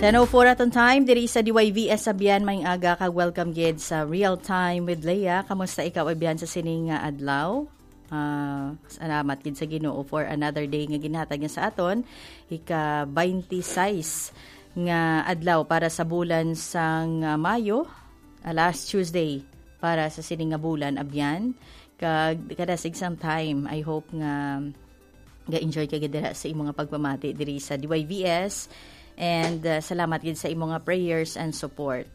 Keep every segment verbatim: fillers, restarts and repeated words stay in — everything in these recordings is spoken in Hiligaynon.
Ten oh four aton time diri sa D Y V S Abyan, may aga kag welcome gid sa Real Time with Leah. Kamusta ikaw, Abyan, sa sining nga adlaw? Ah, salamat gid sa Ginoo for another day nga ginhatag niya sa aton, ika twenty-six nga adlaw para sa bulan sang, ah, Mayo, ah, last Tuesday para sa sining nga bulan, Abyan. Kag kada sig sang time, I hope nga ga-enjoy ka gid dira sa imong nga pagpamati diri sa D Y V S. And, uh, salamat gid sa imong nga prayers and support.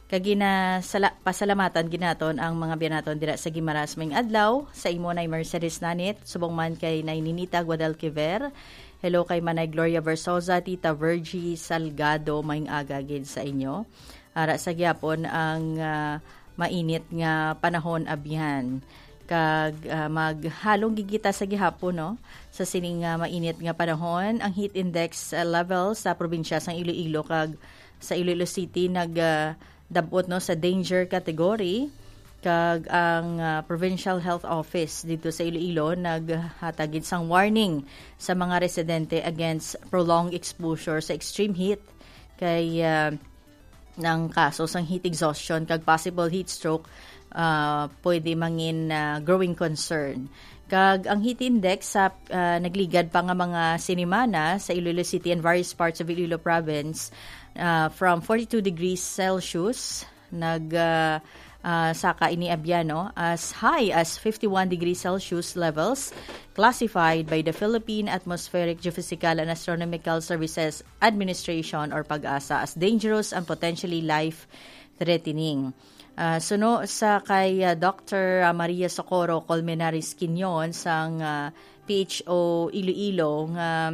Kag gina-, sala-, pasalamatan gid naton ang mga biya naton dira sa Guimaras, may adlaw. Sa imo nay Mercedes Nanit, subong man kay nay Ninita Guadalquiver. Hello kay Manay Gloria Versosa, Tita Virgie Salgado, may aga gid sa inyo. Ara sa gyapon ang, ah, mainit nga panahon, Abyan. Kag, ah, maghalong gid kita sa gihapon, no? Sa sining, ah, mainit nga panahon, ang heat index, ah, level sa probinsya sang Iloilo kag sa Iloilo City nag, ah, dab-ot, no, sa danger category. Kag ang, ah, Provincial Health Office dito sa Iloilo naghatag gid sang warning sa mga residente against prolonged exposure sa extreme heat. Kay, ah, ng kaso sang heat exhaustion kag possible heat stroke, ah, pwede mangin, ah, growing concern. Kag ang heat index sa, ah, nagligad pa nga mga sinimana sa Iloilo City and various parts of Iloilo Province, ah, from forty-two degrees Celsius, nag, ah, ah, saka ini, Abyan, no, as high as fifty-one degrees Celsius levels classified by the Philippine Atmospheric, Geophysical and Astronomical Services Administration or PAGASA as dangerous and potentially life-threatening. Ah, suno sa kay, ah, Doctor Maria Socorro Colmenares Quinyon sang, ah, P H O Iloilo nga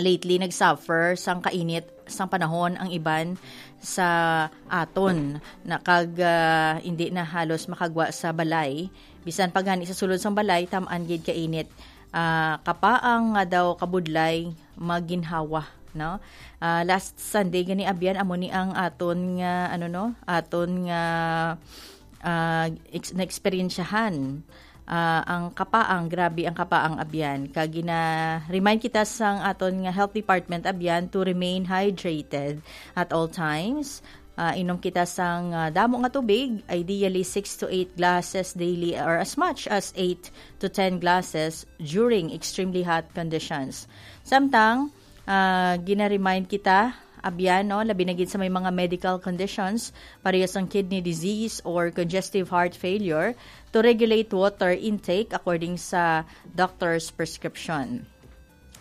lately nag-suffer sang kainit sang panahon ang iban sa aton na kag, ah, hindi na halos makagwa sa balay. Bisan pa gani sa sulod sang balay, tam-an gid kainit. Ah, kapaang nga daw kabudlay maginhawa, no? Ah, last Sunday gani, Abyan, amo ni ang aton nga, ano, no? Aton nga, ah, ex-, naeksperyensyahan, ah, ang kapaang, grabe ang kapaang, Abyan. Kag gina-remind kita sang aton nga health department, Abyan, to remain hydrated at all times. Ah, inom kita sang, ah, damo nga tubig, ideally six to eight glasses daily or as much as eight to ten glasses during extremely hot conditions. Samtang, ah, gina-remind kita, Abyan, no, labi na gid sa may mga medical conditions, pareho sang kidney disease or congestive heart failure, to regulate water intake according sa doctor's prescription.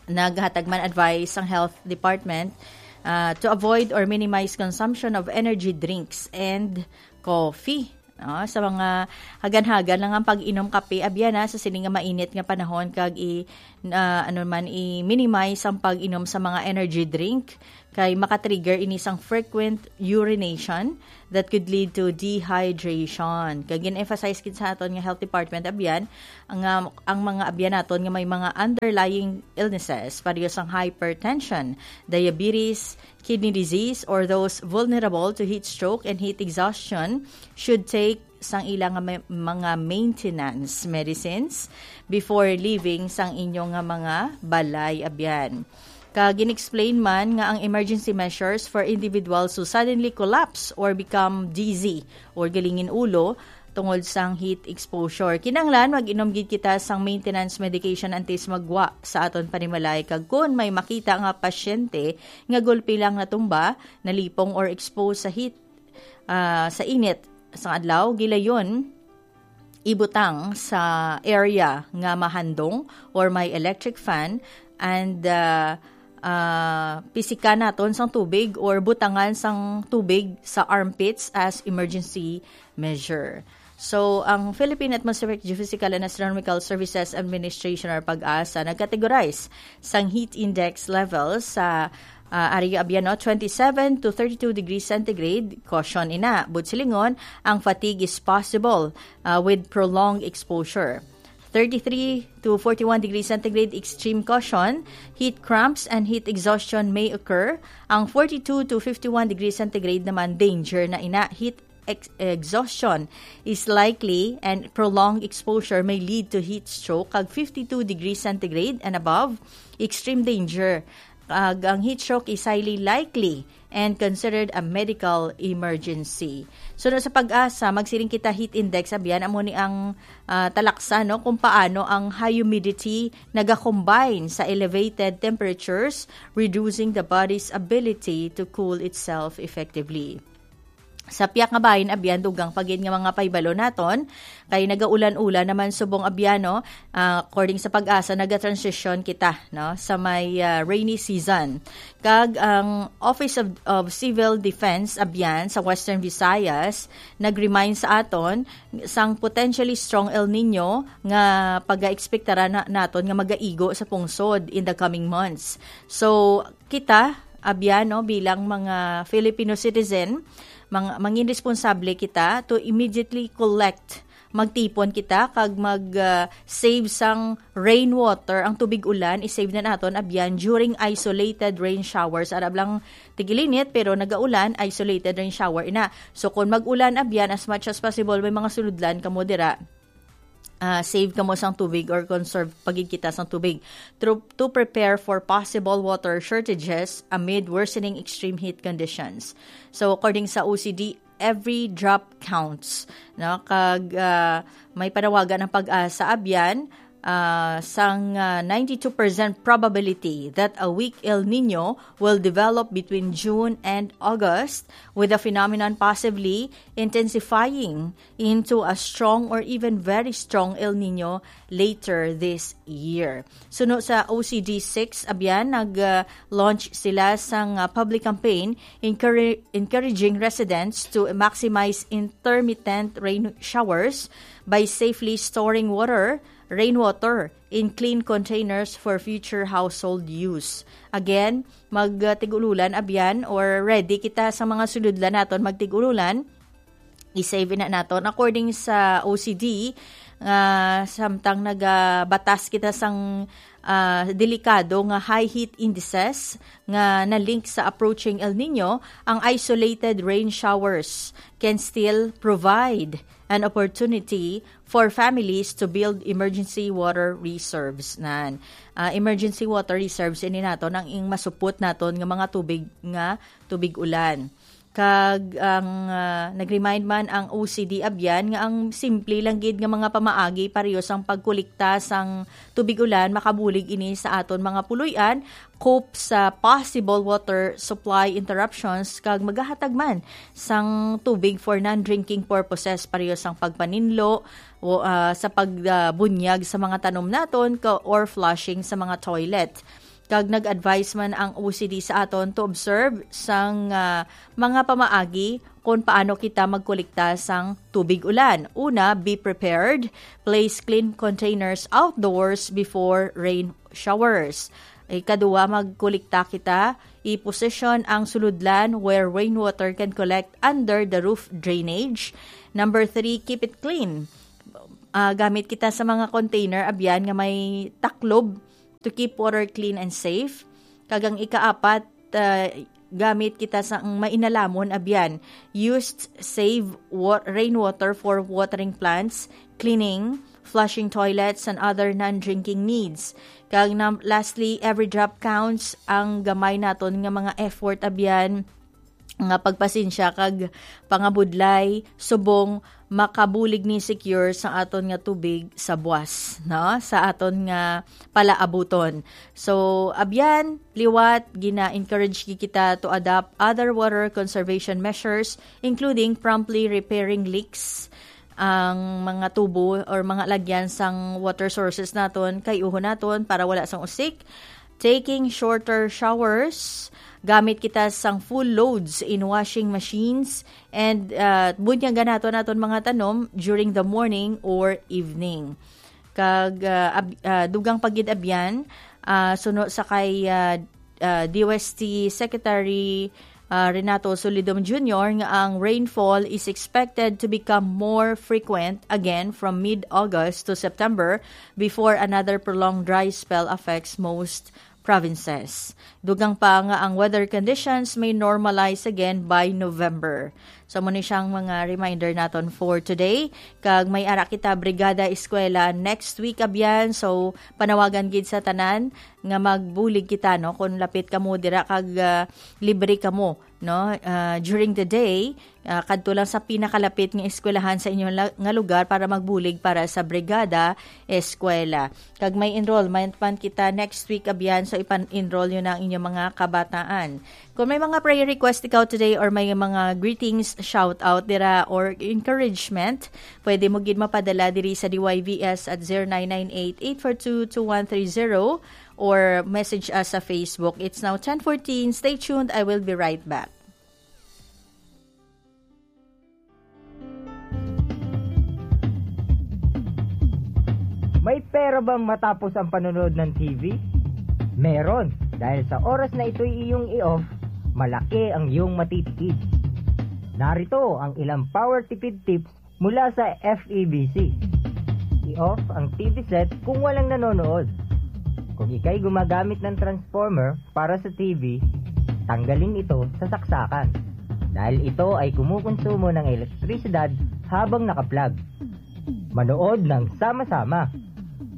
Naghatag man advice ang health department, ah, to avoid or minimize consumption of energy drinks and coffee. No? Sa mga hagan-hagan lang ang pag-inom kape, Abyan, ha, sa sini nga mainit nga panahon, kag i-, ah, ano man, i-minimize ang pag-inom sa mga energy drink, kay makatrigger ini sang frequent urination that could lead to dehydration. Kag gin-emphasize gid sa aton nga health department, Abyan, ang, ah, ang mga Abyan naton nga may mga underlying illnesses, pareho sang hypertension, diabetes, kidney disease, or those vulnerable to heat stroke and heat exhaustion should take sang ila nga may, mga maintenance medicines before leaving sang inyo nga mga balay, Abyan. Kag gin-explain man nga ang emergency measures for individuals who suddenly collapse or become dizzy or galingin ulo tungod sang heat exposure. Kinahanglan mag-inom gid kita sang maintenance medication antes magwa sa aton panimalay, kag kon may makita nga pasyente nga gulpi lang natumba, nalipong or exposed sa heat, ah, sa init sang adlaw, gilayon ibutang sa area nga mahandong or may electric fan, and, ah, ah, pisikan naton sang tubig or butangan sang tubig sa armpits as emergency measure. So, ang Philippine Atmospheric Geophysical and Astronomical Services Administration or PAGASA nag-categorize sang heat index level sa, ah, area, Abyan, no, twenty-seven to thirty-two degrees centigrade, caution ina. But silingon, ang fatigue is possible, ah, with prolonged exposure. Thirty-three to forty-one degrees centigrade, extreme caution. Heat cramps and heat exhaustion may occur. Ang forty-two to fifty-one degrees centigrade naman, danger na ina. Heat ex-, exhaustion is likely and prolonged exposure may lead to heat stroke, kag fifty-two degrees centigrade and above, extreme danger. Kag ang heat stroke is highly likely and considered a medical emergency. So, no, sa PAGASA, magsiling kita heat index, abyan, amo ni ang, ah, talaksa, no, kung paano ang humidity nagakombine sa elevated temperatures, reducing the body's ability to cool itself effectively. Sa piyak nga bahin, abyan, dugang pa gid nga mga pahibalo naton, kay nagaulan-ulan naman subong, abyan, no? Ah, according sa PAGASA, naga-transition kita, no, sa may, ah, rainy season. Kag ang Office of, of Civil Defense, abyan, sa Western Visayas, nag-remind sa aton sang potentially strong El Nino nga pagaekspektara na, naton nga magaigo sa pungsod in the coming months. So, kita, abyan, no, bilang mga Filipino citizen, mang-, mangin responsable kita to immediately collect, magtipon kita kag mag, ah, save sang rainwater, ang tubig ulan, i-save na naton, abyan, during isolated rain showers. Arab lang tigilinit, pero nagaulan, isolated rain shower ina. So, kung mag-ulan, abyan, as much as possible, may mga suludlan kamo dira, ah, save kamo sang tubig or conserve pa gid kita sang tubig to, to prepare for possible water shortages amid worsening extreme heat conditions. So, according sa O C D, every drop counts, no? Kag, ah, may panawagan ang PAGASA, abyan, ah, sang, ah, ninety-two percent probability that a weak El Nino will develop between June and August, with the phenomenon possibly intensifying into a strong or even very strong El Nino later this year. Suno sa O C D six, abyan, nag, ah, launch sila sang, ah, public campaign encourage encouraging residents to maximize intermittent rain showers by safely storing water, rainwater, in clean containers for future household use. Again, magtig-ululan, abyan, or ready kita sa mga suludlan naton magtig-ululan. I-save na naton. According sa O C D, nga samtang nagabatas kita sang, ah, delikado nga high heat indices nga na-link sa approaching El Nino, ang isolated rain showers can still provide an opportunity for families to build emergency water reserves. Nan, ah, emergency water reserves ini naton ang ing masupot naton nga mga tubig, nga tubig ulan. Kag ang, ah, nag-remind man ang O C D, abyan, nga ang simple lang gid nga mga pamaagi pareho sang pagkolekta sang tubig ulan makabulig ini sa aton mga puloy-an, cope sa possible water supply interruptions, kag magahatag man sang tubig for non-drinking purposes pareho sang pagpaninlo o, ah, sa pagbunyag sa mga tanom naton ka, or flushing sa mga toilet. Kag nag-advise man ang O C D sa aton to observe sang, ah, mga pamaagi kon paano kita magkolekta sang tubig ulan. Una, be prepared. Place clean containers outdoors before rain showers. Ikadua, magkolekta kita. I-position ang suludlan where rainwater can collect under the roof drainage. Number three, keep it clean. Ah, gamit kita sa mga container, abyan, nga may taklob to keep water clean and safe. Kag ang ikaapat, ah, gamit kita sa ang mainalamon, abyan, used save wa-, rainwater for watering plants, cleaning, flushing toilets, and other non-drinking needs. Kag na, lastly, every drop counts. Ang gamay naton nga mga effort, abyan, nga pagpasensya kag pangabudlay subong makabulig ni secure sa aton nga tubig sa buas, no? Sa aton nga palaabuton. So, abyan, liwat, gina-encourage gi kita to adopt other water conservation measures, including promptly repairing leaks, ang mga tubo or mga lagyan sang water sources naton, kay uhon naton para wala sang usik, taking shorter showers, gamit kita sang full loads in washing machines, and, ah, bunyagan naton aton mga tanom during the morning or evening. Kag, ah, ab-, ah, dugang pa gid abyan, ah, suno sa kay, ah, ah, D O S T Secretary, ah, Renato Solidom Junior, nga ang rainfall is expected to become more frequent again from mid-August to September before another prolonged dry spell affects most provinces. Dugang pa nga ang weather conditions may normalize again by November. So, mao ni siyang mga reminder naton for today. Kag may ara kita Brigada Eskwela next week, abyan. So, panawagan gid sa tanan nga magbulig kita, no? Kung lapit kamo dira kag, ah, libre kamo, no? Ah, during the day, ah, kadto lang sa pinakalapit nga eskwelahan sa inyo la-, nga lugar para magbulig para sa Brigada Eskwela. Kag may enrollment man kita next week, abyan. So, ipan-enroll nyo na ang inyong mga kabataan. Kung may mga prayer request ikaw today or may mga greetings, shout out dira or encouragement, pwede mo gid mapadala diri sa D Y V S at zero nine nine eight, eight four two, two one three zero or message us sa Facebook. It's now ten fourteen. Stay tuned. I will be right back. May pera bang matapos ang panonood ng T V? Meron, dahil sa oras na ito'y iyong i-off, malaki ang iyong matitipid. Narito ang ilang power tipid tips mula sa F E B C. I-off ang T V set kung walang nanonood. Kung ikay gumagamit ng transformer para sa T V, tanggalin ito sa saksakan, dahil ito ay kumukonsumo ng elektrisidad habang naka-plug. Manood ng sama-sama.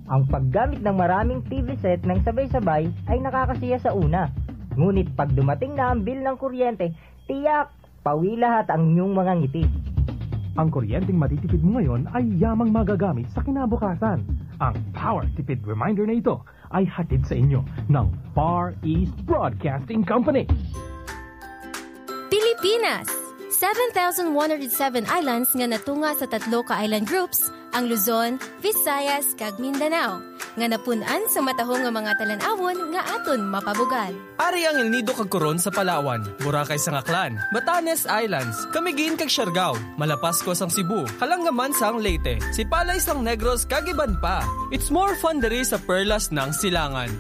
Ang paggamit ng maraming T V set ng sabay-sabay ay nakakasiya sa una. Ngunit pag dumating na ang bill ng kuryente, tiyak, pawi lahat ang inyong mga ngiti. Ang kuryenteng matitipid mo ngayon ay yamang magagamit sa kinabukasan. Ang Power Tipid Reminder na ito ay hatid sa inyo ng Far East Broadcasting Company. Pilipinas! Seven thousand one hundred seven islands nga natunga sa tatlo ka island groups, ang Luzon, Visayas, kag Mindanao, nga napun-an sa matahong nga mga talan-awon nga aton mapabugal. Ari ang El Nido kag Coron sa Palawan, Boracay sang Aklan, Batanes Islands, Camiguin kag Siargao, Malapascua sang Cebu, Kalangaman sang Leyte, Sipalay sang Negros kag iban pa. It's more fun diri sa perlas ng silangan.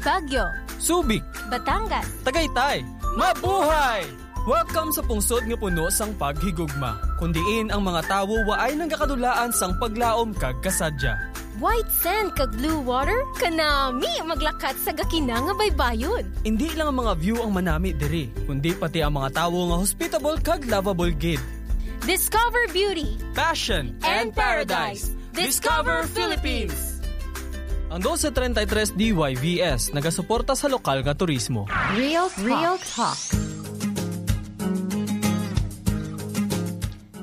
Baguio, Subic, Batangas, Tagaytay. Mabuhay! Welcome sa pungsod nga puno sang paghigugma, kun diin ang mga tawo waay nagakadulaan sang paglaom kag kasadya. White sand kag blue water, kanami maglakat sa gakina nga baybayon. Indi lang ang mga view ang manami diri, kundi pati ang mga tawo nga hospitable kag lovable gid. Discover beauty, passion, and paradise. Discover Philippines. Ang dose treinta y tres D Y V S nagasuporta sa lokal nga turismo. Real Talk. Real Talk.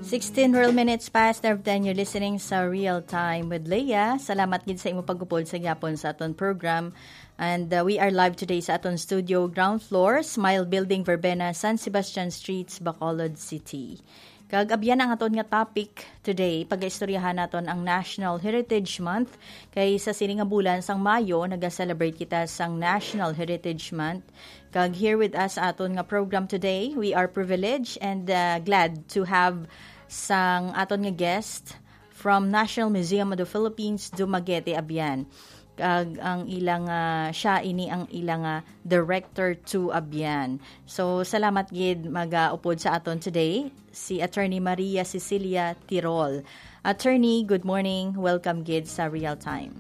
Sixteen real minutes past of ten, you're listening sa Real Time with Leia. Salamat gid sa imo pag-upod sa gyapon sa aton program. And, uh, we are live today sa aton studio, ground floor, Smile Building, Verbena, San Sebastian Streets, Bacolod City. Kag abyan ang aton nga topic today, pagaistoryahan naton ang National Heritage Month. Kay sa sini nga bulan sang Mayo, naga-celebrate kita sang National Heritage Month. Kag here with us sa aton nga program today, we are privileged and, uh, glad to have sang aton nga guest from National Museum of the Philippines, Dumaguete, abyan. Kag ang ilang, ah, siya ini ang ilang, ah, director to abyan. So, salamat gid magaupod sa aton today, si Attorney Maria Cecilia Tirol. Attorney, good morning. Welcome gid sa Real Time.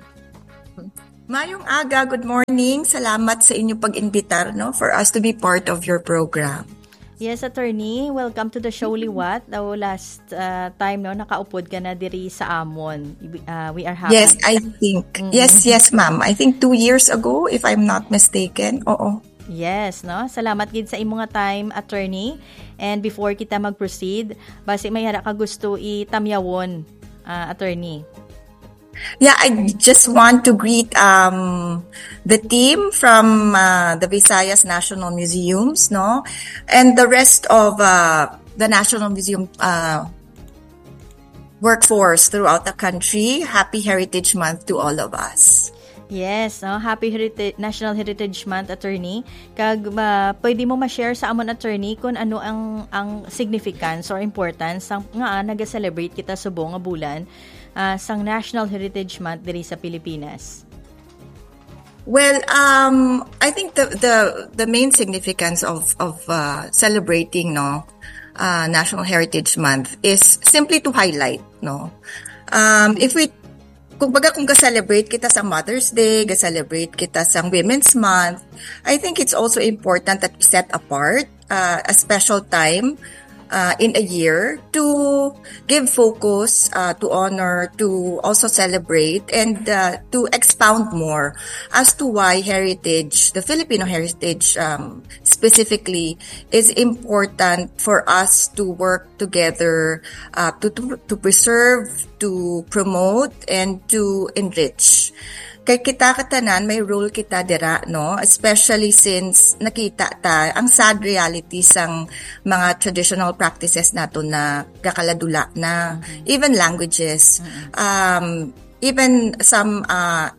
Mayong aga, good morning. Salamat sa inyong pag-imbitar, no, for us to be part of your program. Yes, Attorney. Welcome to the show, liwat. Daw last, uh, time, no, nakaupod ka na diri sa amon. Ibi-, uh, we are happy. Yes, I think. Mm-mm. Yes, yes, ma'am. I think two years ago, if I'm not mistaken. Oo. Yes, no? Salamat gid sa imo nga time, Attorney. And before kita mag-proceed, basi may ara ka gusto itamyawon, uh, Attorney. Yeah, I just want to greet, um, the team from, uh, the Visayas National Museums, no? And the rest of, uh, the National Museum, uh, workforce throughout the country. Happy Heritage Month to all of us. Yes, no? Happy Herita-, National Heritage Month, Attorney. Kag, uh, pwede mo ma-share sa amon, Attorney, kung ano ang, ang significance or importance sang, nga, ah, naga-celebrate kita subong nga bulan ah, sang National Heritage Month diri sa Pilipinas? Well, um, I think the, the, the main significance of, of, uh, celebrating, no, uh, National Heritage Month is simply to highlight, no. Um, if we, kung baga, kung ga-celebrate kita sa Mother's Day, ga-celebrate kita sa Women's Month, I think it's also important that we set apart, uh, a special time uh, in a year to give focus, uh, to honor, to also celebrate, and uh, to expound more as to why heritage, the Filipino heritage, um, specifically, is important for us to work together, uh, to, to, to preserve, to promote, and to enrich. Kay kita katanan, may role kita dira, no? Especially since nakita ta ang sad reality sang mga traditional practices nato na gakaladula na, even languages, um, even some uh,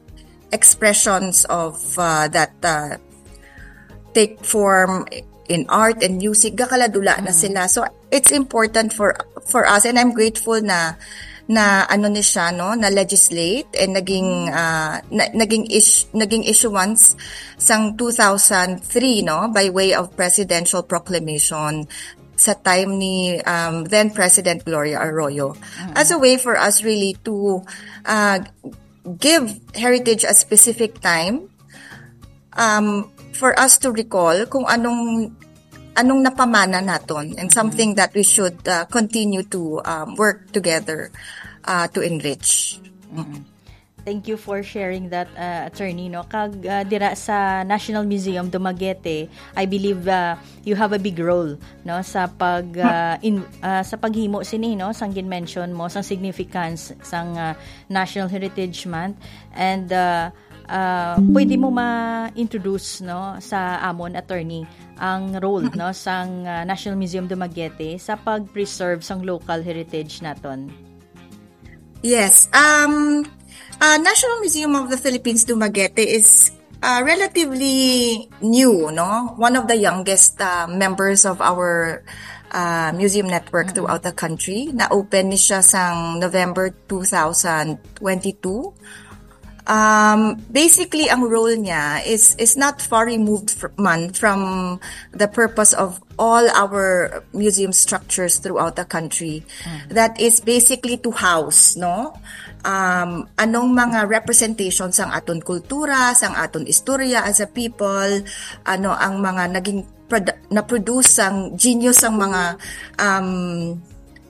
expressions of uh, that uh, take form in art and music, gakaladula na sila. So it's important for for us, and I'm grateful na na ano ni siya, no, na legislate and naging uh, na, naging is, naging issuance sang two thousand three, no, by way of presidential proclamation sa time ni um, then President Gloria Arroyo, as a way for us really to uh, give heritage a specific time um, for us to recall kung anong anong napamana naton, and something that we should uh, continue to um, work together uh, to enrich. Thank you for sharing that, uh, attorney, no? Kag uh, dira sa National Museum Dumaguete, I believe uh, you have a big role, no, sa pag uh, in, uh, sa paghimo sini, no, sang gin-mention mo sang significance sang uh, National Heritage Month, and uh, uh, pwede mo ma-introduce, no, sa amon, attorney, ang role, no, sang uh, National Museum Dumaguete sa pag-preserve sang local heritage naton? Yes. Um, uh, National Museum of the Philippines Dumaguete is uh, relatively new, no? One of the youngest uh, members of our uh, museum network throughout the country. Na-open ni siya sang November two thousand twenty-two. Um, basically, ang role niya is is not far removed fr- man from the purpose of all our museum structures throughout the country. That is basically to house, no? Um, anong mga representation sang aton kultura, sang aton istorya as a people, ano ang mga naging produ- na-produce sang genius sang mga um,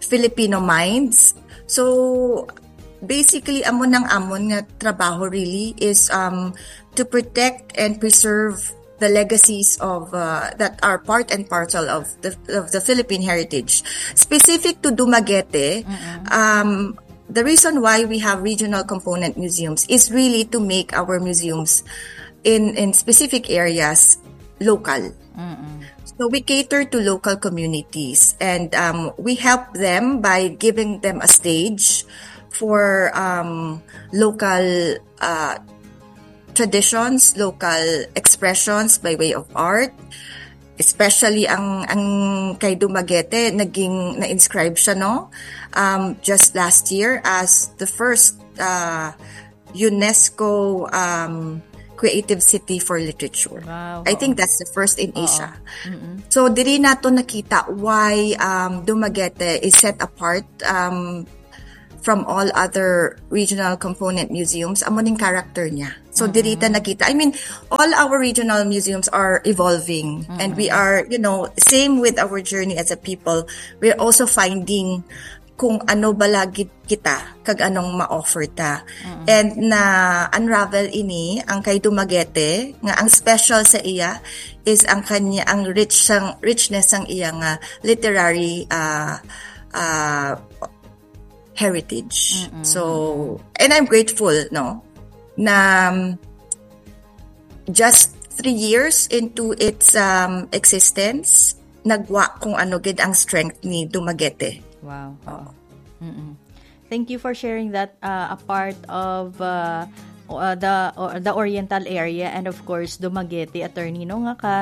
Filipino minds. So, basically, amo nang amon nga trabaho really is um, to protect and preserve the legacies of uh, that are part and parcel of the of the Philippine heritage. Specific to Dumaguete, um, the reason why we have regional component museums is really to make our museums in in specific areas local. So we cater to local communities, and um, we help them by giving them a stage for um, local uh, traditions, local expressions by way of art. Especially ang ang kay Dumaguete, naging na-inscribe siya, no, um, just last year as the first uh, UNESCO um, Creative City for Literature. Wow, I oo. Think that's the first in Asia. So diri nato nakita why um, Dumaguete is set apart um, from all other regional component museums. Amo ning character niya. So diri ta nakita. I mean, all our regional museums are evolving, and we are, you know, same with our journey as a people. We're also finding kung ano bala gid kita kag anong ma-offer ta. And na-unravel ini ang kay Dumaguete, nga ang special sa iya is ang kanya, ang rich sang richness sang iya nga literary uh, uh, heritage. So, and I'm grateful, no, na um, just three years into its um, existence, nagwa kung ano gid ang strength ni Dumaguete. Wow. Oo. Mm-mm. Thank you for sharing that uh, a part of uh, uh, the uh, the Oriental area, and of course Dumaguete, attorney, no, nga ka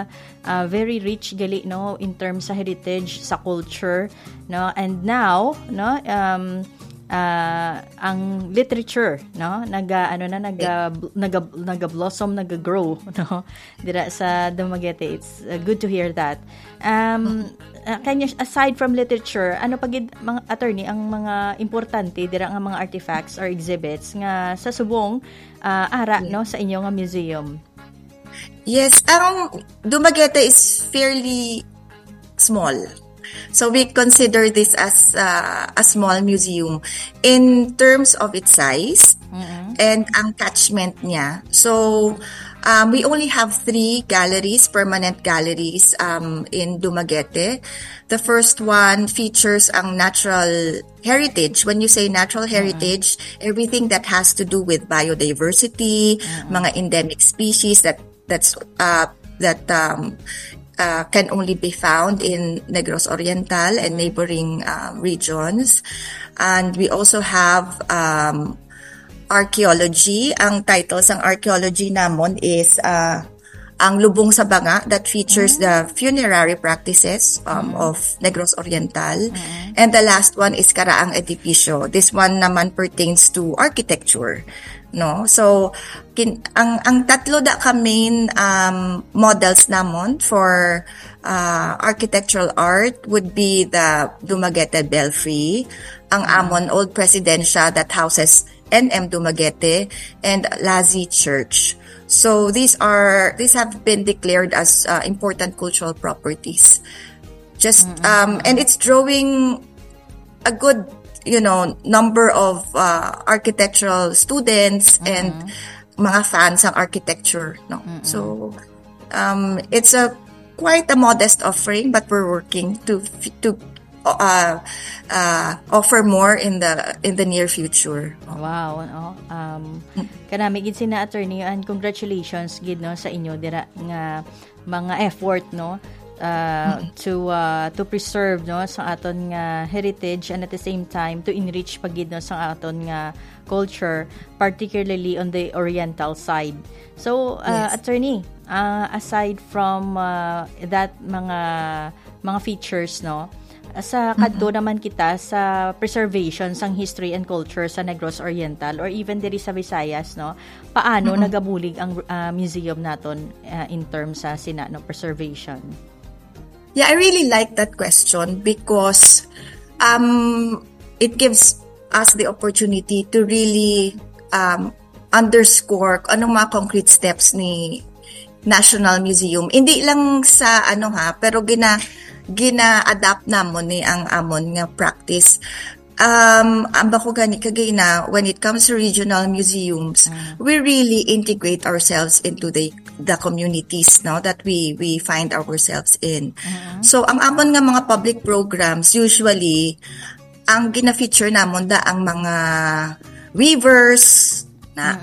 uh, very rich gali, no, in terms sa heritage, sa culture, no, and now, no, um, uh, ang literature, no, naga ano na naga naga naga blossom, naga grow, no, dira sa Dumaguete. It's uh, good to hear that. Um, uh, can you, aside from literature, ano pa gid, mga attorney, ang mga importante dira nga mga artifacts or exhibits nga sa subong uh, ara, no, sa inyo nga museum? Yes, ang Dumaguete is fairly small. So we consider this as uh, a small museum in terms of its size and ang catchment niya. So um, we only have three galleries, permanent galleries um, in Dumaguete. The first one features ang natural heritage. When you say natural heritage, everything that has to do with biodiversity, mga endemic species that that's uh, that um, uh, can only be found in Negros Oriental and neighboring uh, regions. And we also have um, archaeology. Ang title sang archaeology namon is uh, ang Lubong sa Banga, that features the funerary practices um, of Negros Oriental. And the last one is Karaang Edipisyo. This one naman pertains to architecture. No? So, kin- ang ang tatlo da ka main um, models namon for uh, architectural art would be the Dumaguete Belfry, ang amon old presidencia that houses N M Dumaguete, and Lazi Church. So these are these have been declared as uh, important cultural properties. Just um, and it's drawing a good, you know, number of uh, architectural students and mga fans ng architecture, no? So um, it's a quite a modest offering, but we're working to to uh, uh, offer more in the in the near future. Wow, no? Um, kanami gid sina, attorney, and congratulations gid, no, sa inyo dira nga mga effort, no, uh, to uh, to preserve, no, sa aton nga heritage, and at the same time to enrich pa gid, no, sa aton nga culture, particularly on the oriental side. So, uh, Yes. Attorney, uh, aside from uh, that mga mga features, no, sa kadto naman kita sa preservation sang history and culture sa Negros Oriental or even diri sa Visayas, no, paano nagabulig ang uh, museum naton uh, in terms sa sina, no, preservation? Yeah, I really like that question because um, it gives us the opportunity to really um, underscore kung anong mga concrete steps ni National Museum. Hindi lang sa ano ha, pero gina gina-adapt namon ni ang amon nga practice. Um, ang bako gani kagina, when it comes to regional museums, we really integrate ourselves into the the communities, no, that we we find ourselves in. So ang amon nga mga public programs, usually ang gina-feature namon da ang mga weavers na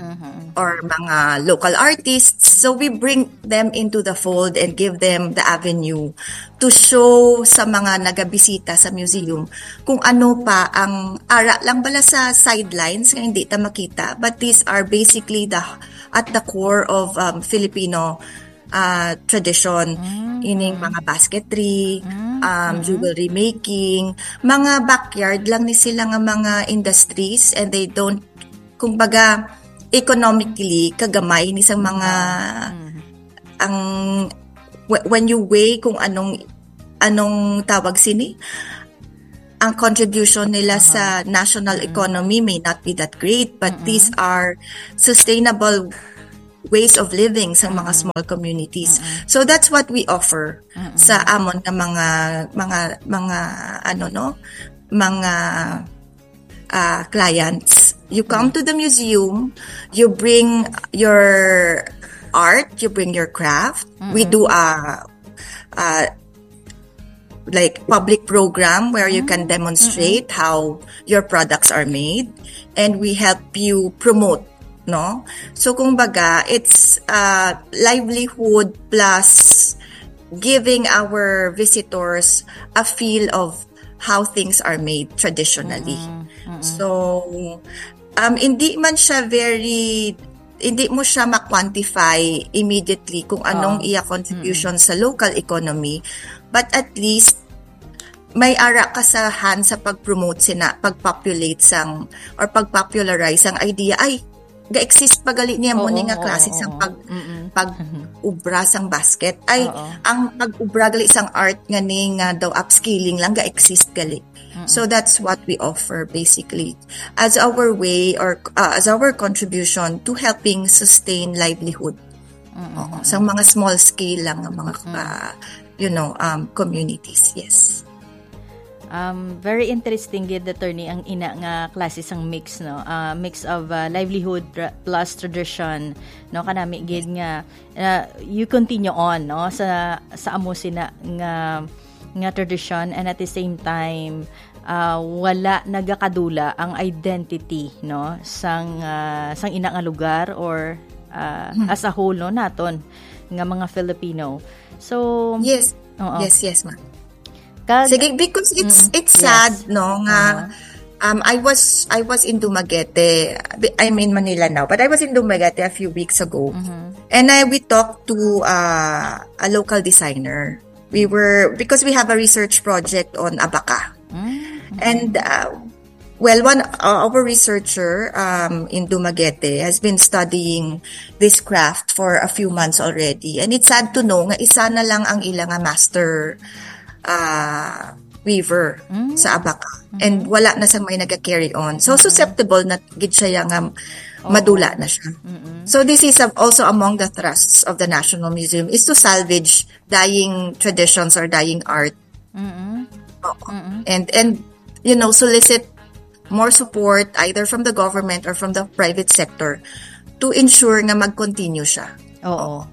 or mga local artists. So we bring them into the fold and give them the avenue to show sa mga nagabisita sa museum kung ano pa ang ara lang bala sa sidelines nga hindi ta makita, but these are basically the at the core of um, Filipino uh, tradition, ining mga basketry, um, jewelry making, mga backyard lang ni sila nga mga industries, and they don't, kumbaga, economically kagamay ni sang mga ang wh- when you weigh kung anong anong tawag sini, ang contribution nila sa national economy may not be that great, but these are sustainable ways of living sa mga small communities. So that's what we offer sa amon nga mga mga mga ano, no, mga uh, clients. You come to the museum, you bring your art, you bring your craft. We do a, a like public program where you can demonstrate how your products are made, and we help you promote, no? So kumbaga, it's uh, livelihood plus giving our visitors a feel of how things are made traditionally. So um hindi man siya very hindi mo siya ma-quantify immediately kung anong iya contribution sa local economy, but at least may ara ka sa hand sa pag-promote sina, pag-populate sang or pag-popularize ang idea, ay ga-exist pa gali niya mo Oo, ni nga oo, klase oo. sang pag pag ubra sang basket, ay Oo. ang pag-ubra gali sang art nga ni nga daw upskilling lang ga-exist gali. So that's what we offer basically as our way or uh, as our contribution to helping sustain livelihood. Oo, sa mga small scale lang nga mga uh, you know um, communities. Yes. Um, very interesting gid, attorney, ang ina nga klase sang mix, no? Ah, mix of, ah, livelihood tra- plus tradition, no? Kanami gid nga, ah, you continue on, no? Sa, sa amo sina nga, nga tradition, and at the same time, ah, wala nagakadula ang identity, no? Sang, ah, sang ina nga lugar or, ah, Hmm. as a whole, no? Naton nga mga Filipino. So, Yes. Oo. Yes, yes, ma'am. Kag Sige, because it's, Mm, it's yes. sad, no, nga, Uh-huh. um, I was, I was in Dumaguete. I mean, Manila now, but I was in Dumaguete a few weeks ago. Mm-hmm. And I, we talked to, uh, a local designer. We were, because we have a research project on abaca. Mm-hmm. And, uh, well, one, uh, our researcher, um, in Dumaguete has been studying this craft for a few months already. And it's sad to know nga isa na lang ang ila nga master, uh, weaver Mm. sa abaca. Mm-hmm. And wala na sang may naga-carry on. So, Mm-hmm. susceptible na gid siya nga Oo. madula na siya. Mm-mm. So, this is a- also among the thrusts of the National Museum is to salvage dying traditions or dying art. Mm-mm. Oo. Mm-mm. And, and, you know, solicit more support either from the government or from the private sector to ensure nga mag-continue siya. Oo.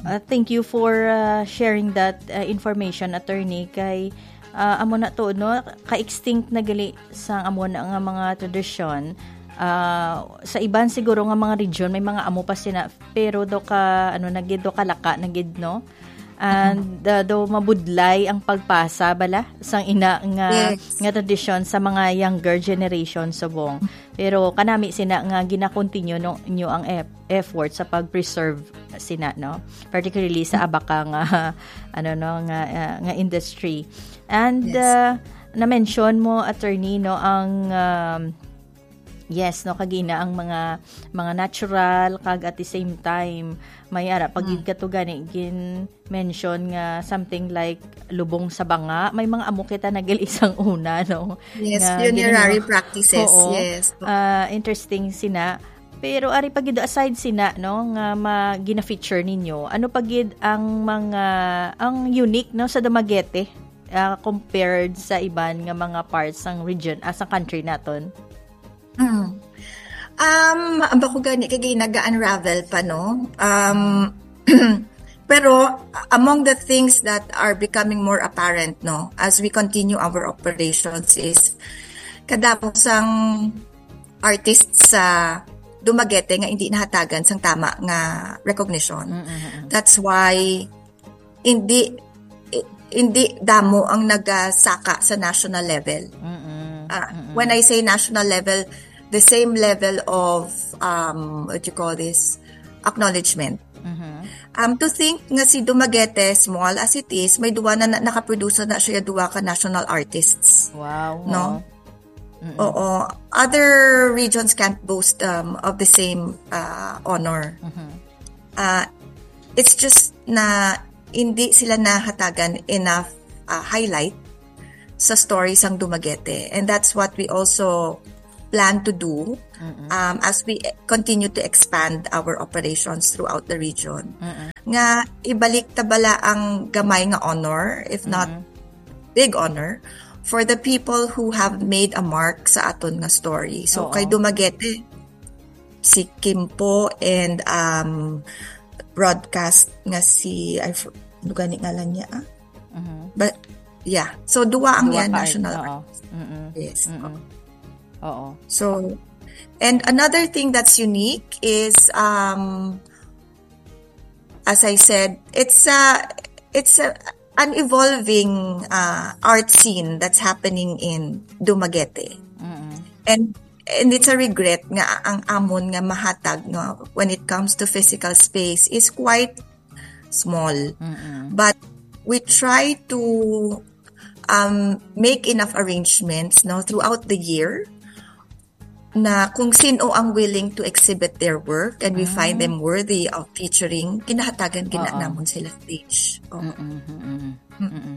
Uh, thank you for, uh, sharing that, uh, information, attorney. Kay, uh, amo na to, no? Ka-extinct na gali sang amo na nga mga tradisyon. Uh, sa iban siguro nga mga region, may mga amo pa sina, pero do ka, ano na gid, do ka laka na gid, no? And, uh, do mabudlay ang pagpasa, bala, sang ina nga, Yes. nga tradisyon sa mga younger generation subong. Pero kanami sina nga gina-continue no, nyo ang ef-, effort sa pag-preserve sina, no? Particularly sa abaka nga, ano, no, nga, uh, nga industry. And, Yes. uh, na-mention mo, attorney, no, ang, um, yes, no, kagina ang mga, mga natural, kag at the same time, may ara, pag Mm. kato gani, gin-, mention nga something like lubong sa banga. May mga amo kita nagil isang una, no? Yes, Nga funerary ginhimo- practices, Oo. yes. Ah, interesting sina. Pero ari pa gid, aside sina, no, nga ma-, gina-feature ninyo, ano pa gid ang mga, ang unique, no, sa Dumaguete, ah, compared sa iban nga mga parts sang region, ah, sa country naton? Hmm. Um, ang bako gani kay naga-unravel pa, no? Um, pero among the things that are becoming more apparent, no, as we continue our operations is kadamo sang artists sa Dumaguete nga hindi nahatagan sang tama nga recognition. Mm, mm, mm. That's why hindi, i-, hindi damo ang nagasaka sa national level. Mm-mm. Ah, Mm-mm. When I say national level, the same level of, um, what you call this, acknowledgement. Mm-hmm. Um, to think nga si Dumaguete, small as it is, may duwa na, na nakaproduce na siya duwa ka national artists. Wow, No? wow. Mm-mm. Oo. Other regions can't boast, um, of the same, uh, honor. Mm-hmm. Uh, it's just na hindi sila nahatagan enough, uh, highlight sa story sang Dumaguete. And that's what we also plan to do, Mm-mm. um, as we continue to expand our operations throughout the region. Mm-mm. Nga ibalik ta bala ang gamay nga honor, if not Mm-mm. big honor, for the people who have made a mark sa aton nga story. So, Oo. kay Dumaguete, si Kimpo and, um, broadcast nga si, I f-, ano gani ngalan niya, ah? Mhm. But, yeah. So, duwa ang Duwa yan, ka, national oo. artist. Mm-mm. Yes. Mm-mm. Oo. So, and another thing that's unique is, um, as I said, it's a, it's a, an evolving, uh, art scene that's happening in Dumaguete. Mm-mm. And, and it's a regret nga ang amon nga mahatag nga when it comes to physical space is quite small. Mm-mm. But we try to, um, make enough arrangements, no, throughout the year na kung sino ang willing to exhibit their work and we find Ah. them worthy of featuring, ginahatagan gina Oo. namon sila stage. Oo. Mm-mm, mm-mm, Mm. mm-mm.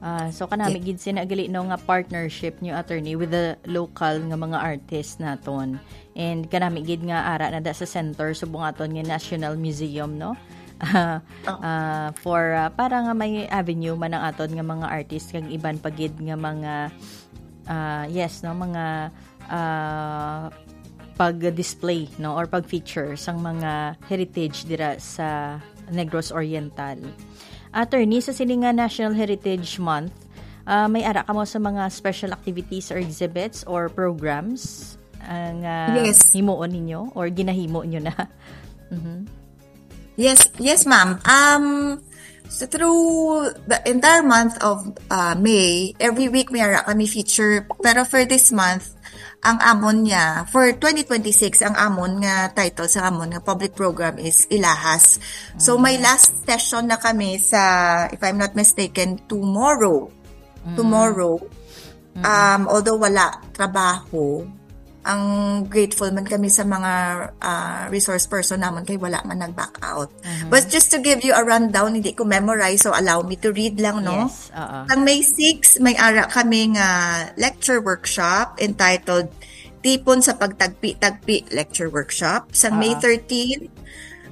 Ah, so kanami Yes. gid sina gali, no, nga partnership niyo, attorney, with the local nga mga artists naton. And kanami gid nga ara na da sa center subong aton nga National Museum, no? Ah, ah, for, ah, para nga may avenue man ang aton nga mga artist kag iban pa gid nga mga, ah, yes, no, mga, ah, pag-display, no, or pag-feature sang mga heritage dira sa Negros Oriental. Attorney, sa sini nga National Heritage Month, ah, may ara kamo sa mga special activities or exhibits or programs, ah, nga Yes. himuon ninyo or ginahimo nyo na? Mhm. Yes, yes, ma'am. Um, so through the entire month of, uh, May, every week may ara kami feature. Pero for this month, ang amon niya, for twenty twenty-six, ang amon nga title sa amon nga public program is Ilahas. So, may Mm. last session na kami sa, if I'm not mistaken, tomorrow. Mm. Tomorrow. Mm. Um, although wala trabaho, ang grateful man kami sa mga, ah, resource person namon kay wala man nag-back out. Mhm. But just to give you a rundown, hindi ko memorize, so allow me to read lang, no? Yes, oo. Sang May six, may ara kami nga lecture workshop entitled Tipon sa Pagtagpi-tagpi Lecture Workshop. Sang May Oo. thirteen,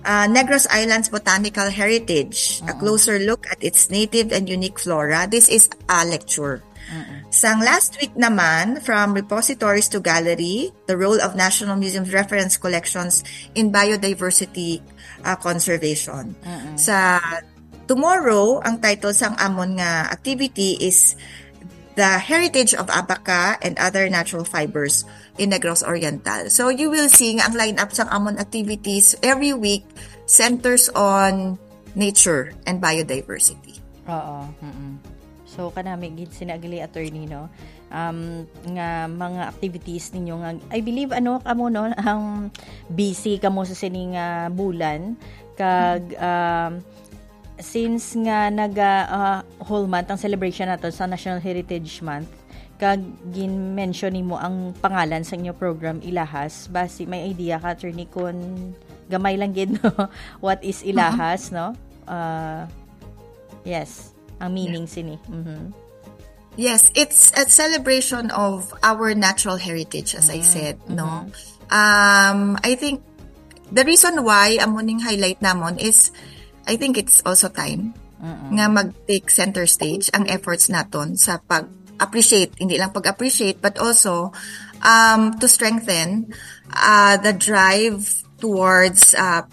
ah, Negros Islands Botanical Heritage, a Mm. closer look at its native and unique flora. This is a lecture. Mm-mm. Sang last week naman, From Repositories to Gallery, the role of National Museum's reference collections in biodiversity, uh, conservation. Mm-mm. Sa tomorrow, ang title sang amon nga activity is The Heritage of Abaca and Other Natural Fibers in Negros Oriental. So, you will see nga ang lineup sang amon activities every week centers on nature and biodiversity. Oo, mm-mm. So, kanami gid sina gali, attorney, no? Um, nga mga activities ninyo nga, I believe, ano, kamo, no, ang busy kamo sa sining, ah, bulan. Kag, um, since nga naga, ah, whole month ang celebration nato sa National Heritage Month, kag gin-mention nimo ang pangalan sa inyo program, Ilahas, basi may idea ka, attorney, kun gamay lang gid, no? What is Ilahas, no? Ah, yes, ang meaning sini. Mhm. Yes, it's a celebration of our natural heritage, as I Mm, said, no? mhm. Um, I think the reason why amo ning highlight namon is, I think it's also time Mm-mm. nga mag-take center stage ang efforts naton sa pag-appreciate, hindi lang pag-appreciate, but also, um, to strengthen, uh, the drive towards, uh,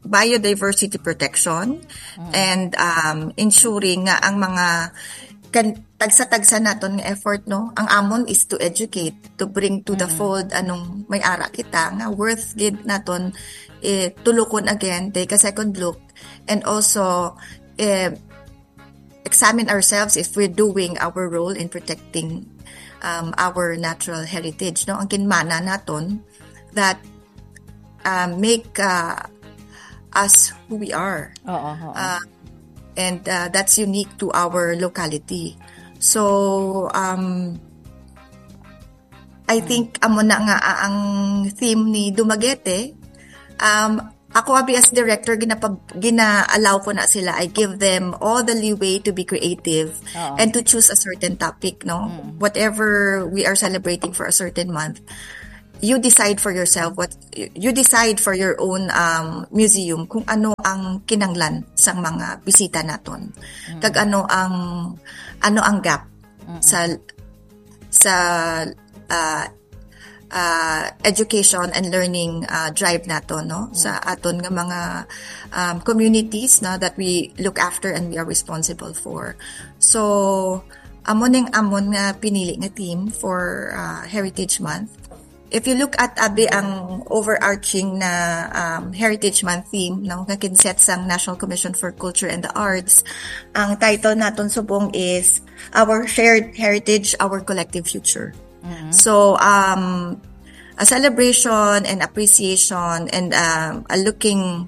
biodiversity protection Mm. and, um, ensuring nga ang mga kan-, tagsa-tagsa naton nga effort, no? Ang amon is to educate, to bring to the Mm. fold anong may ara kita nga worth gid naton, eh, tulukon again, take a second look, and also, eh, examine ourselves if we're doing our role in protecting, um, our natural heritage, no? Ang kinmana naton that, uh, make, uh, us who we are. Oo, oo. Uh, and, uh, that's unique to our locality. So, um, I Hmm. think amo na nga, ah, ang theme ni Dumaguete. Um, ako abi as director, ginapab-, gina-allow ko na sila. I give them all the leeway to be creative Oo. and to choose a certain topic, no? Mm. Whatever we are celebrating for a certain month, you decide for yourself what you decide for your own, um, museum kung ano ang kinanglan sang mga bisita naton. Mm. Kag ano ang, ano ang gap Mm. sa, sa, ah, ah, education and learning, ah, drive nato, no? Sa Mm. aton nga mga, um, communities na that we look after and we are responsible for. So, amo ning amon nga pinili nga theme for, ah, Heritage Month. If you look at abi ang overarching na, um, Heritage Month theme, no, nga kinset sang National Commission for Culture and the Arts, ang title naton subong is Our Shared Heritage, Our Collective Future. Mm-hmm. So, um, a celebration and appreciation and, um, a looking,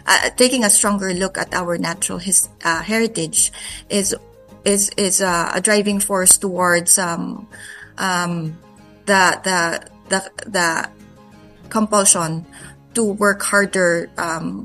uh, taking a stronger look at our natural his-, uh, heritage is, is, is, uh, a driving force towards, um, um, the, the, the, the compulsion to work harder, um,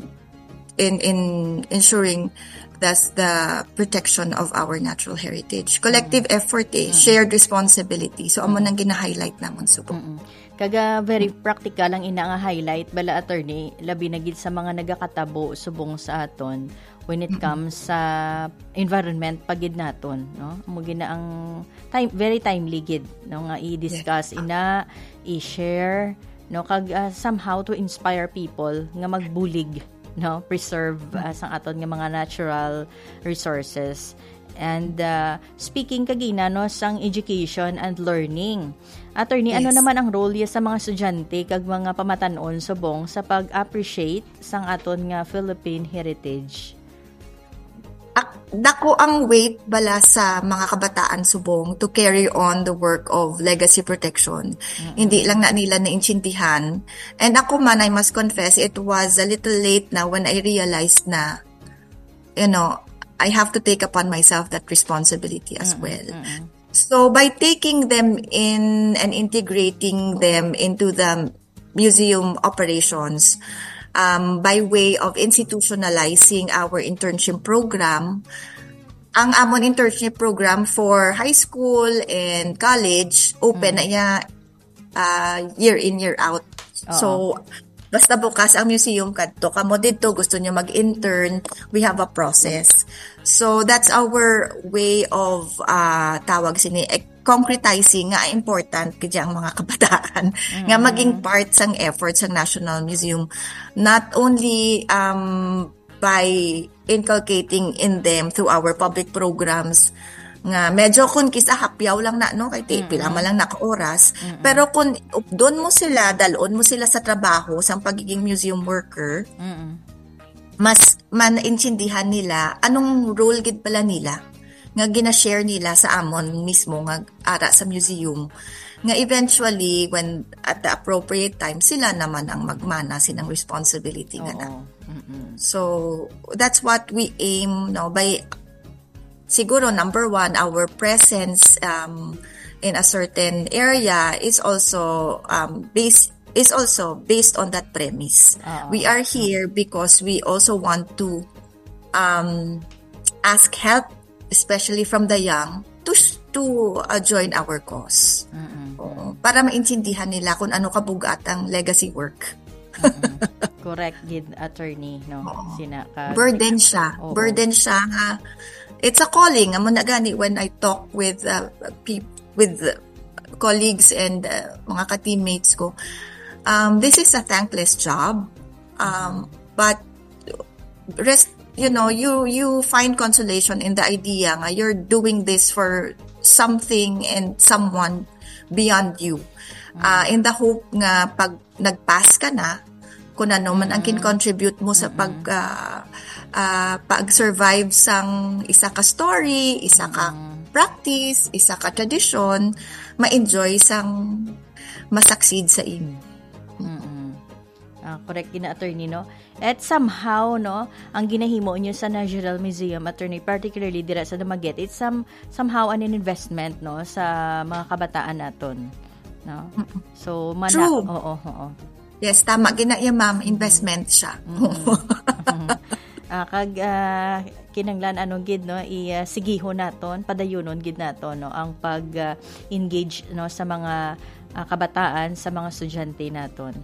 in, in ensuring that's the protection of our natural heritage. Collective Mm. effort, eh, Mm. shared responsibility. So, amo Mm. nang gina-highlight namon subong. Mm-mm. Kaga very practical ang ina nga highlight bala, attorney, labi na gid sa mga nagakatabo subong sa aton when it comes sa environment pa gid naton, no? Mo gina ang time, very timely gid, no, nga i-discuss ina, i-share, no, kag ah, somehow to inspire people nga magbulig, no, preserve ah, sang aton nga mga natural resources. And ah, speaking kagina, no, sang education and learning, attorney, ano Yes. naman ang role ya sa mga estudyante kag mga pamatan-on subong sa pag-appreciate sang aton nga Philippine heritage? Ak- dako ang weight bala sa mga kabataan subong to carry on the work of legacy protection. Hindi lang na nila naintindihan. And ako man, I must confess, it was a little late na when I realized na, you know, I have to take upon myself that responsibility as well. So by taking them in and integrating them into the museum operations, um, by way of institutionalizing our internship program, ang amon internship program for high school and college, open na iya uh, year in, year out. So, basta bukas ang museum kadto, kamo didto gusto nyo mag-intern, we have a process. So, that's our way of uh, tawag sini, eh, concretizing nga important kaya ang mga kabataan nga maging part sang effort sa National Museum, not only um, by inculcating in them through our public programs nga medyo kun kisa hapyaw lang na, no, kay ti pila man lang na ka oras, pero kun updon mo sila, dalon mo sila sa trabaho sang pagiging museum worker, mas maintindihan nila anong role gid pala nila nga gina-share nila sa amon mismo nga ara sa museum, nga eventually when at the appropriate time sila naman ang magmana sinang responsibility nga na. Oo. Mm-mm. So that's what we aim, no, by siguro number one, our presence um, in a certain area is also um, based is also based on that premise. Oo. We are here because we also want to um, ask help, especially from the young, to s- to uh, join our cause. Oo. Para maintindihan nila kung ano kabugat ang legacy work. Correct gid, attorney, no? Oo. Sina ka Burden siya. Oo. Burden siya nga it's a calling. Amo na gani when I talk with uh, peop- with uh, colleagues and uh, mga ka-teammates ko. Um, this is a thankless job. Um, but rest, you know, you you find consolation in the idea nga you're doing this for something and someone beyond you. Uh, in the hope nga pag nag-pass ka na, kung ano man ang kin-contribute mo sa pag ah, ah, pag-survive sang isa ka story, isa ka practice, isa ka tradisyon, ma-enjoy sang ma-succeed sa imo. Mm-mm. Ah, correct gina, attorney, no? At somehow, no, ang ginahimo niyo sa National Museum, attorney, particularly dira sa Dumaguete, it's some, somehow an investment, no, sa mga kabataan naton, no? So, mana, True. Oo, oo. Yes, tama gina iya, ma'am, investment siya. Ah, kag ah, kinahanglan ano gid, no, i ah, sigihon naton, padayunon gid naton, no, ang pag ah, engage, no, sa mga ah, kabataan, sa mga estudyante naton.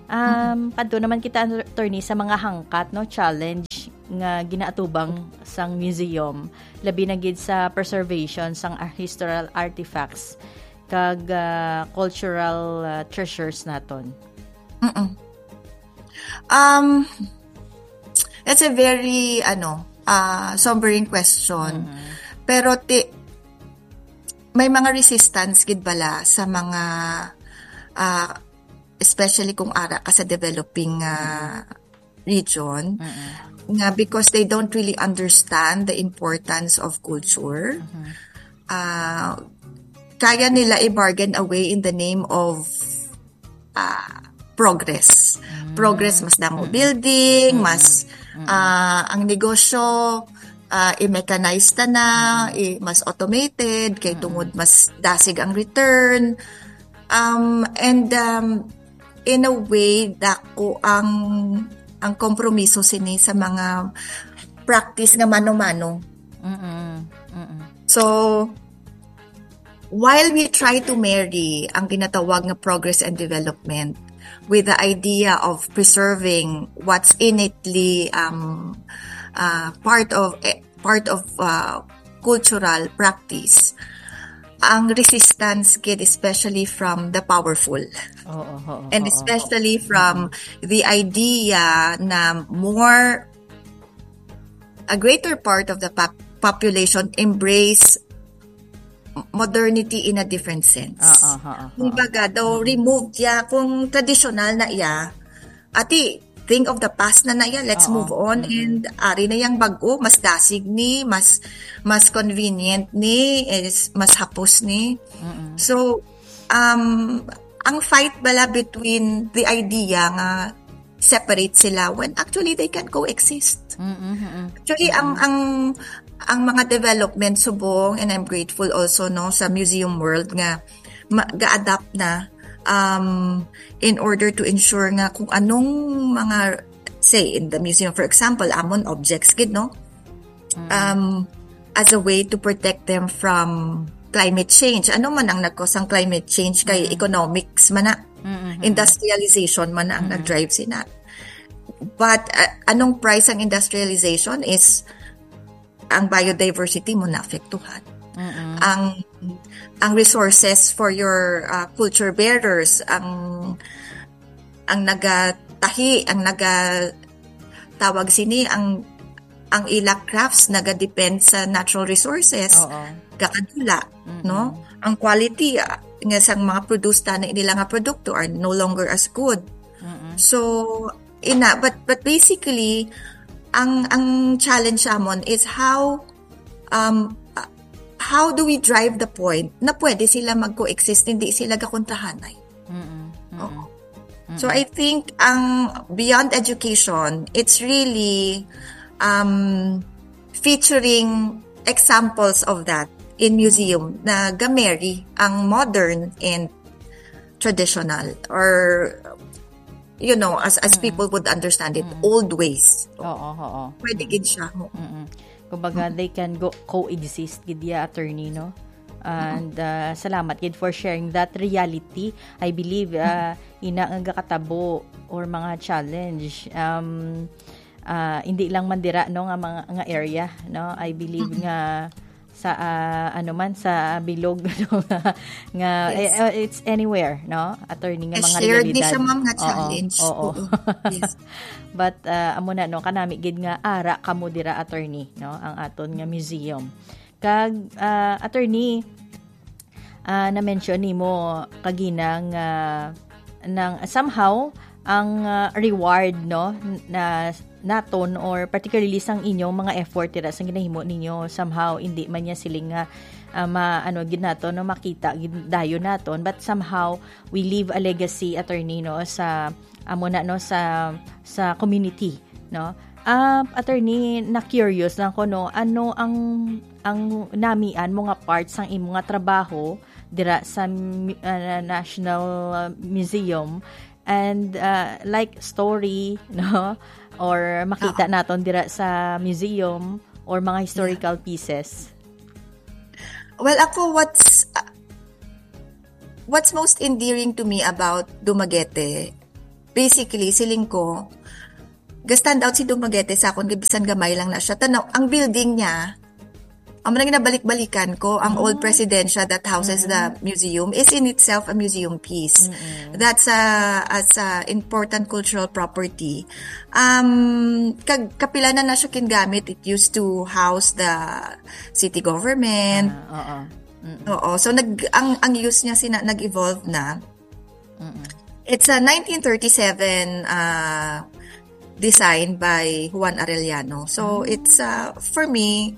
Um, kadto naman kita, attorney, sa mga hangkat, no, challenge nga ginaatubang sang museum, labi na gid sa preservation sang ah, historical artifacts kag ah, cultural ah, treasures naton. Mm-mm. Um, it's a very ano, uh, sobering question. Pero ti may mga resistance gid bala sa mga uh, especially kung ara ka sa developing uh, region nga because they don't really understand the importance of culture. Uh, kaya nila i-bargain away in the name of uh, progress. Progress, mas damo building, mas uh, ang negosyo uh, i-mechanize ta na, i- mas automated, kay tungod mas dasig ang return. Um, and um, in a way, dako ang ang kompromiso sini sa mga practice nga mano-mano. Mm-mm. Mm-mm. So, while we try to marry ang ginatawag nga progress and development with the idea of preserving what's innately, um, uh, part of, eh, part of, uh, cultural practice, ang resistance gid, especially from the powerful. Oo, oo, And oo. Especially from the idea na more, a greater part of the pop- population embrace modernity in a different sense. Oo, oo, oo. Kumbaga, daw removed ya kung traditional na iya. Ati, think of the past na na iya, let's Oo. move on, Mm-mm. and ari na yang bag-o, mas dasig ni, mas, mas convenient ni, is mas hapos ni. Mm-mm. So, um, ang fight bala between the idea nga separate sila when actually they can coexist. Mm-mm, mm-mm. Actually, ang, ang, ang mga development subong, and I'm grateful also, no, sa museum world nga ma- ga-adapt na, um, in order to ensure nga kung anong mga, say, in the museum, for example, amon objects gid, no? Mm. Um, as a way to protect them from climate change. Ano man ang nagkos ang climate change kay Mm. economics man na, Mm-hmm. industrialization man na ang Mm-hmm. nag-drive sina. But, uh, anong price ang industrialization is ang biodiversity mo naapektuhan. Mm-hmm. Ang, ang resources for your, uh, culture bearers, ang, ang nagatahi, ang naga-, tawag sini, ang, ang ila crafts naga-depend sa natural resources, Oo. kakadula, Mm-mm. no? Ang quality, ah, nga sang mga produce na nila nga produkto are no longer as good. Mm-mm. So, ina, but, but basically, ang, ang challenge sa amon is how, um, uh, how do we drive the point na pwede sila mag-coexist, hindi sila gakontrahanay? Mm-mm. Mm-mm. Oo. So, Mm-mm. I think ang beyond education, it's really, um, featuring examples of that in museum na ga-marry ang modern and traditional, or, you know, as, as Mm-mm. people would understand it, Mm-mm. old ways. Oo, oo. Pwede gid siya. Oo. Mm-mm. Kumbaga, Mm-mm. they can go coexist gid ya, attorney, no? And, uh, salamat gid for sharing that reality. I believe, uh, ina nga gakatabo or mga challenge, um, uh, hindi lang man dira, no, nga mga, nga area, no? I believe Mm-mm. nga sa, uh, ano man, sa bilog, no, nga, nga, Yes. eh, uh, it's anywhere, no, attorney, nga Eh, mga shared ni realidad. siya, ma'am, nga Oo, challenge. Oo. Oo. Yes. But, uh, amo na, no, kanami gid nga ara kamo dira, attorney, no, ang aton nga museum. Kag, uh, attorney, uh, na-mention nimo kagina nga nang somehow ang, uh, reward, no, na naton, or particularly sang inyong mga effort dira sa ginahimo ninyo, somehow hindi man niya siling nga, uh, ma-, ano gid naton, no, makita gid dayon naton, but somehow we leave a legacy, attorney, no, sa amo na, no, sa, sa community, no. Ah, attorney, na-curious lang ko, no, ano ang, ang namian mo nga part sang imo nga trabaho dira sa mu-, ah, National, ah, Museum, and, ah, like, story, no, or makita Oo. naton dira sa museum, or mga Yeah. historical pieces? Well, ako, what's, ah, what's most endearing to me about Dumaguete, basically, siling ko, ga-stand out si Dumaguete sa akon, kay bisan gamay lang na siya. Tanaw, ang building niya, amo na ginabalik-balikan ko, ang old Ah. Presidencia that houses the Mm. museum is in itself a museum piece. Mm-mm. That's a, as a important cultural property. Um, kag-, kapila na na siya kingamit. It used to house the city government. Ah, oo. Mm-mm. Oo. So, nag-, ang, ang use niya sina-, nag-evolve na. Mm-mm. It's a nineteen thirty-seven, uh, design by Juan Arellano. So, Mm. it's, uh, for me,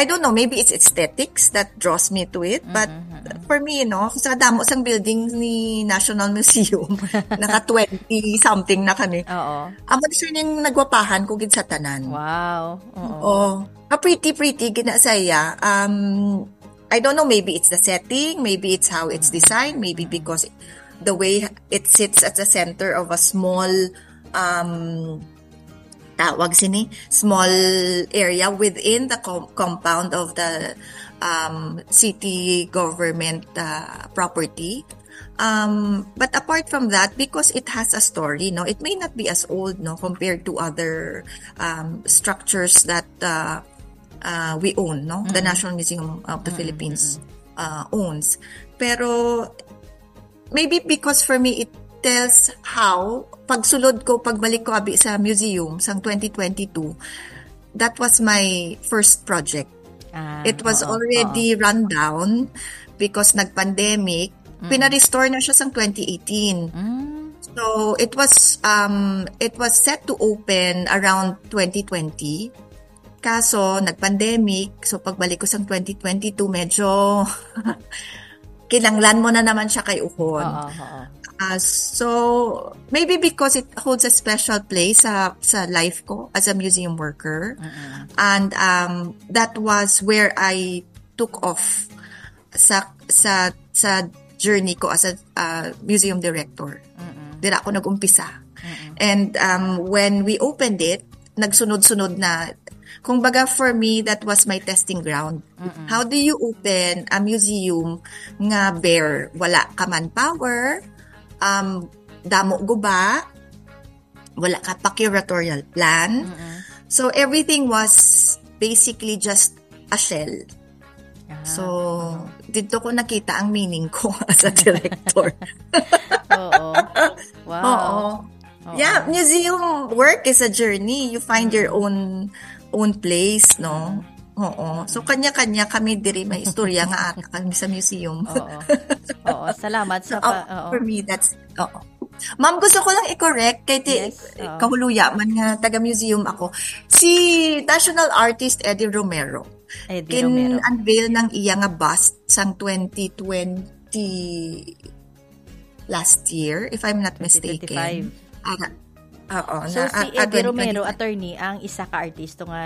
I don't know, maybe it's aesthetics that draws me to it, but Mm-mm, mm-mm. for me, you know, sa damo sang building ni National Museum, naka twenty something na kami. Oo. Amo siya ning nagwapahan ko gid sa tanan. Wow. Oo. Oo. Ah, pretty, pretty, gina saya. Um, I don't know, maybe it's the setting, maybe it's how it's Mm. designed, maybe Mm. because the way it sits at the center of a small, um, tawag sini, small area within the com- compound of the um, city government uh, property. Um, but apart from that, because it has a story, no, it may not be as old, no, compared to other um, structures that uh, uh, we own, no, the National Museum of the Philippines uh, owns. Pero maybe because for me, it tells how, pagsulod ko, pagbalik ko abi sa museum sang twenty twenty-two, that was my first project. Ah, It was oo, already oo. run down because nag-pandemic. Pina-restore na siya sang twenty eighteen. Mm. So, it was um it was set to open around twenty twenty. Kaso, nag-pandemic. So, pagbalik ko sang twenty twenty-two, medyo kinanglan mo na naman siya kay uhon. Oo, oo. Uh, so, maybe because it holds a special place sa, sa life ko as a museum worker. Mm-mm. And um, that was where I took off sa sa sa journey ko as a uh, museum director. Mm-mm. Dira ako nag-umpisa. Mm-mm. And um, when we opened it, nagsunod-sunod na. Kung baga, for me, that was my testing ground. Mm-mm. How do you open a museum nga bare? Wala ka manpower, um, damo guba, wala ka pa curatorial plan. Mm-mm. So, everything was basically just a shell. Ah, So, dito ko nakita ang meaning ko as a director. Oo. Wow. Oo. Oo. Yeah, museum work is a journey. You find your own own place, no? Oo. So, kanya-kanya kami diri may istorya nga ata kami sa museum. Oo. Oo. Salamat sa So, pa, oo. for me, that's, oo. Ma'am, gusto ko lang i-correct kay ti, Yes, oo. kahuluya man nga taga-museum ako. Si national artist Eddie Romero, Eddie Romero. kin-unveil ng iya nga bust sang twenty twenty last year, if I'm not mistaken. Twenty twenty-five. Ah, oo, So, na, si ah, ah, Eddie Romero, twenty twenty-five. attorney, ang isa ka artisto nga,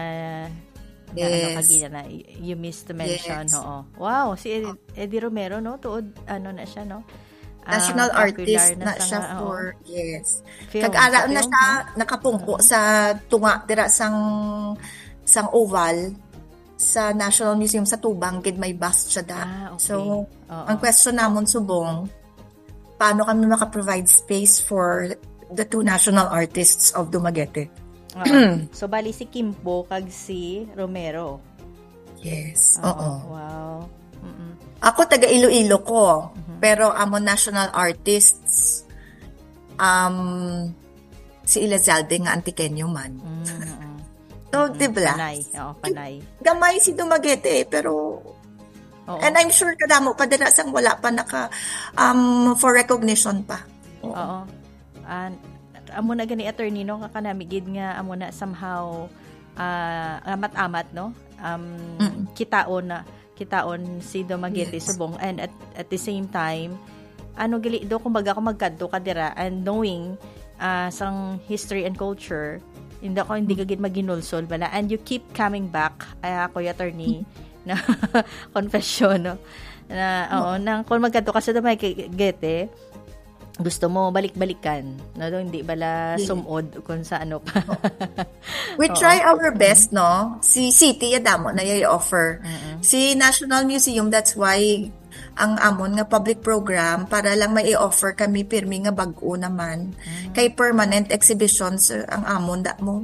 nga ano Yes. kagina na y- you missed to mention, Yes. oo. Wow, si Eddie, Eddie Romero, no? Tuod, ano na siya, no? Ah, National popular artist na na sa siya nga, oo. for, yes. Film, Kag ara sa na film, siya, no? nakapungko sa tunga, dira sang, sang oval, sa National Museum sa Tubang, gid may bust siya da. Ah, okay. So, Oo. ang question namon subong, paano kami maka-provide space for the two national artists of Dumaguete? Oo. So, bali si Kimpo kag si Romero. Yes, Oo, oo. wow. Mm-mm. Ako taga Iloilo ko, Mhm. pero amo national artists, um, si Elizalde nga Antiqueño man. Mm-mm. So, Mm-mm. di ba? Panay. Oo, panay. Gamay si Dumaguete, pero Oo. and I'm sure kadamo pa dira sang wala pa naka, um, for recognition pa. Oo. Oo. And amo na gani, attorney, no, nga kanami gid nga amo na somehow, ah, amat-amat, no? Um, Mm. kitaon na, kitaon si Dumaguete Yes. subong, and at, at the same time, ano gali do, kumbaga, kung magkadto ka dira and knowing, ah, sang history and culture, hindi ako, hindi ka gid maginulsol bala, and you keep coming back, ah, Kuya Attorney, na confession, no? Na, oo, Oo. nang kung magkadto ka sa Dumaguete, gusto mo balik-balikan, no? Hindi bala Yes. sumod kung sa ano pa. We Oo. try our best, no? Si city, ya damo na ya offer. Mm-mm. Si National Museum, that's why ang amon nga public program para lang may i-offer kami pirmi nga bag-o naman. Mm. Kay permanent exhibitions, uh, ang amon da mo.